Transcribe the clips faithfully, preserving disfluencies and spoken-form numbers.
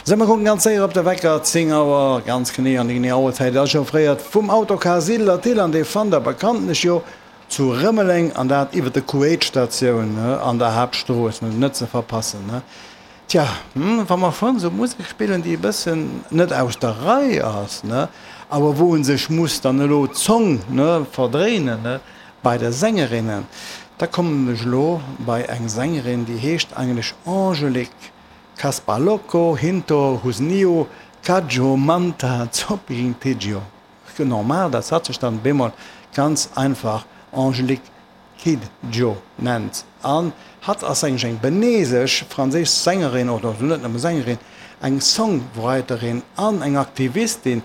Sou, mer kucken ganz séier op de Wecker, zéng Auer, ganz genee, an déi genee Auerzäit ass offréiert vum Autocar Siedler Thill an dee fannt der bekanntlech jo zu Rëmeleng an dat iwwer de Q-Eight-Statioun an der Haaptstrooss, net ze verpassen. Tja, wa mer schonn esou Musek spillen, déi e bëssen net aus der Rei ass, awer wou e sech muss dann elo d'Zong verdréinen bei de Sängerinnen, da kommen ech elo bei eng Sängerin, déi heescht eigentlech Angélique Kaspaloko Hinto Husnio Kadjo Manta Zopintigio. Normal, dass hatt sech dann bemol ganz einfach Angélique Kidjo nennt. An hatt ass eigentlech eng benesesch franséisch Sängerin, oder net nëmme Sängerin, eng Songwriterin an eng Aktivistin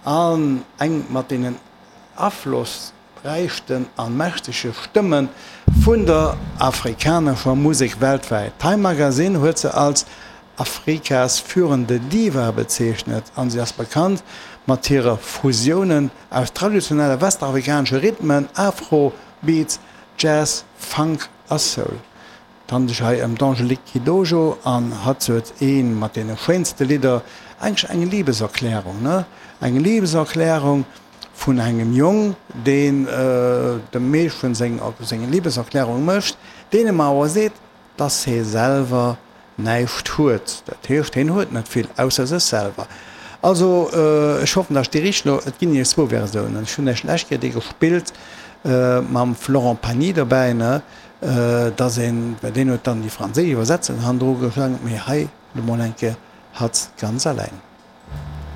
an eng mat deenen aflossräichsten a mächtege Stëmme vun der afrikanescher Musek weltwäit. Time Magazine huet se als Afrikas führende Diva bezeechnet an si ass bekannt mat hire Fusiounen aus traditionelle westafrikanesche Rhythmen, Afro-Beats, Jazz, Funk a Soul. Et handelt sech hei ëm d'Angélique Kidjo an hatt huet ee mat deene schéinste Lidder, eigentlech eng Libeserklärung, ne? Eng Libeserklärung vun engem Jong, deen dem Meedchen seng Libeserklärung mécht, deen em awer seet, dass hee selwer näischt huet. Dat heescht, heen huet net vill, ausser sech selwer. Also, ech hoffen, dass ech déi richteg elo, et ginn nämlech zwou Versiounen, ech hunn lech d'lescht Kéier déi gespillt mam Florent Pagny dobäi, ne, dass een, well deen huet dann déi franséisch Iwwersetzung hannendru geschriwwen, mee hei elo mol eng Kéier hatt ganz alleng.